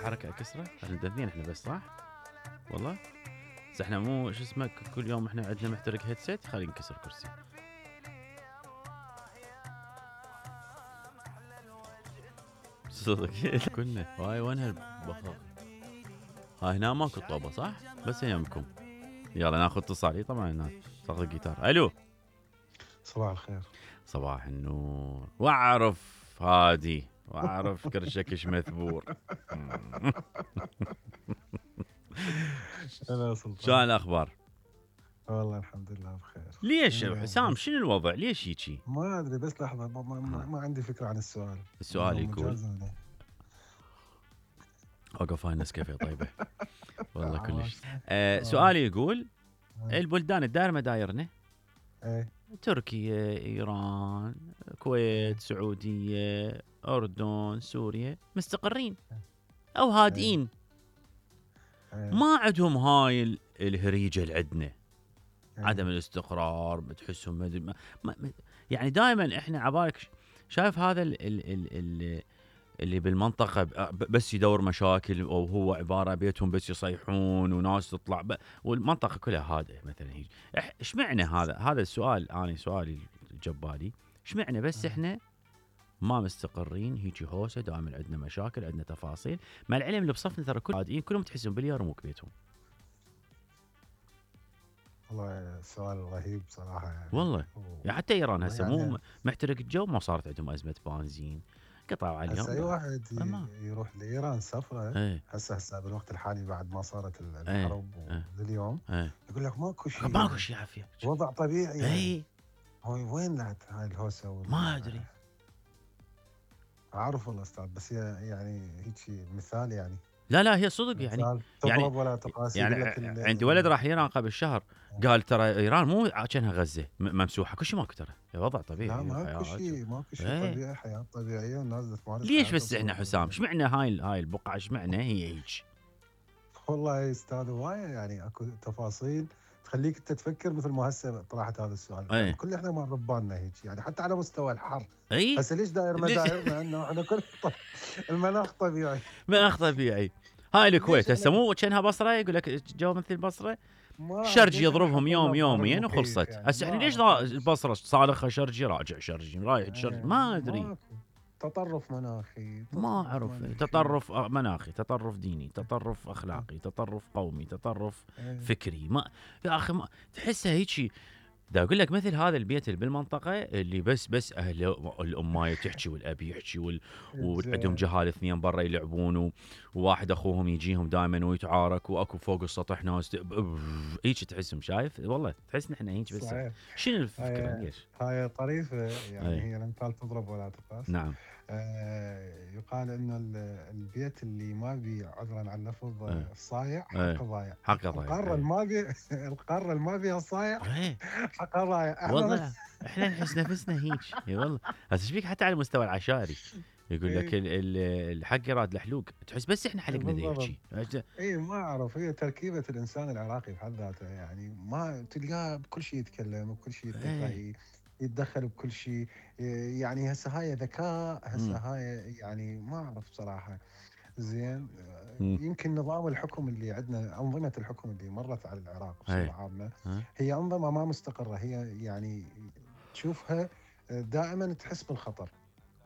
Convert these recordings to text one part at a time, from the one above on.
حركه اكسره؟ احنا اثنين احنا بس صح؟ والله بس احنا مو شو اسمه كل يوم احنا عندنا محترق هيدسيت خلي نكسر كرسي. صدق كنا هاي وين هالبخاخ؟ هاي هنا ماكو طوبه صح؟ بس يمكم. يلا ناخذ اتصال. طبعا هنا صاغ الجيتار. الو صباح الخير. صباح النور. واعرف هادي واعرف كرشكش مثبور. هلا سلطان. شلون الاخبار؟ والله الحمد لله بخير. ليش حسام شنو الوضع؟ ليش هيجي؟ ما ادري بس لحظه ما عندي فكره عن السؤال. السؤال يقول اوقف هاي النسكافيه طيبه. والله كلش. سؤالي يقول البلدان الدائره مدايرنا تركيا، ايران، الكويت، سعوديه، اردن، سوريا مستقرين او هادئين، ما عندهم هاي الهريجه اللي عندنا، عدم الاستقرار بتحسهم يعني دائما احنا عبالك شايف هذا اللي بالمنطقه بس يدور مشاكل، او هو عباره بيتهم بس يصيحون وناس تطلع والمنطقه كلها هادئه مثلا. هيك ايش معنى هذا السؤال؟ انا سؤالي جبالي ايش معنى بس احنا ما مستقرين هيجي هوسه، دائما عندنا مشاكل، عندنا تفاصيل، مع العلم اللي بصفنا ترى كل هادئين كلهم تحسهم باليار مو بيتهم. والله سؤال رهيب صراحه يعني. والله يعني حتى ايران هسه مو محترق الجو، ما صارت عندهم ازمه بنزين، قطعوا عليهم. هسه اي واحد يروح لايران سفره هسه بالوقت الحالي بعد ما صارت الحرب لليوم يقول لك ماكو شيء عافيه، وضع طبيعي يعني. هو وين هاي الهوسه ما ادري. اعرف والله استاذ، بس يعني هيك مثال يعني. لا هي صدق يعني ولا تقاسي. يعني عندي ولد راح ايران قبل شهر قال ترى ايران مو كأنها غزه ممسوحه، كل شيء ماكو ترى، وضع طبيعي. لا ماكو شيء طبيعي، حياه طبيعيه والناس تمارس. ليش بس احنا حسام ايش معنى هاي البقعه ايش معنى هي هيك؟ والله يا استاذ هوايه يعني اكو تفاصيل تخليك انت تفكر مثل ما هسه طرحت هذا السؤال. يعني كل احنا ما ربانا هيك يعني حتى على مستوى الحر. هسه ليش داير مدايرنا انه احنا كل المناخ طبيعي. مناخ طبيعي. هاي الكويت هسه مو كانها بصره، يقول لك جو مثل البصره، شرجي يضربهم يومين وخلصت. هسه احنا ليش البصره صالخه شرجي راجع شرجي رايح شرجي؟ ما ادري. تطرف مناخي، ما اعرف. تطرف مناخي، تطرف ديني، تطرف اخلاقي، تطرف قومي، تطرف فكري. ما يا اخي ما تحسها هيك. دا اقول لك مثل هذا البيت اللي بالمنطقه اللي بس اهل الامايه تحكي والاب يحكي وعندهم جهال اثنين برا يلعبون وواحد اخوهم يجيهم دائما ويتعارك، واكو فوق السطح ناس هيك تحسهم. شايف والله تحس نحن هيك بس. شنو الفكره؟ ليش هاي طريفه يعني. هي الامثال تضرب ولا تقاس. نعم. يقال انه البيت اللي ما بي عذرا عن اللفظ الصايع حقه ضايع. القاره اللي ما بيها صايع حقها ضايع. والله احنا نحس نفسنا هيك. اي والله هسه ايش فيك حتى على المستوى العشائري يقول لك الحق يراد الحلوق، تحس بس احنا حلقنا ذي هيك. اي ما اعرف، هي تركيبه الانسان العراقي بحد ذاته يعني. ما تلقاه بكل شيء يتكلم، بكل شيء يتدخل بكل شيء يعني. هسه هاي ذكاء، هسه هاي يعني ما اعرف بصراحه. زين يمكن نظام الحكم اللي عندنا، انظمه الحكم اللي مرت على العراق بصوره عامه هي انظمه ما مستقره. هي يعني تشوفها دائما تحس بالخطر.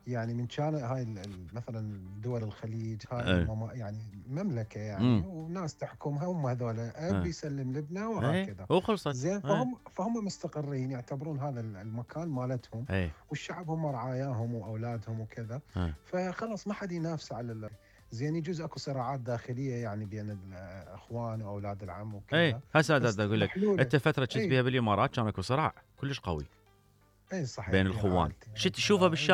يعني من كان هاي مثلا دول الخليج هاي يعني مملكه يعني وناس تحكمها، هم هذول اب يسلم لابنه وهكذا وخلصت. زين فهم مستقرين، يعتبرون هذا المكان مالتهم والشعب هم رعاياهم واولادهم وكذا. فخلص ما حد ينافس على زين. يجوز اكو صراعات داخليه يعني بين الاخوان واولاد العم وكذا. هسه اقول لك انت فتره كنت بيها بالامارات كان اكو صراع كلش قوي اي صحيح بين الخوان. شفت تشوفه بالشارع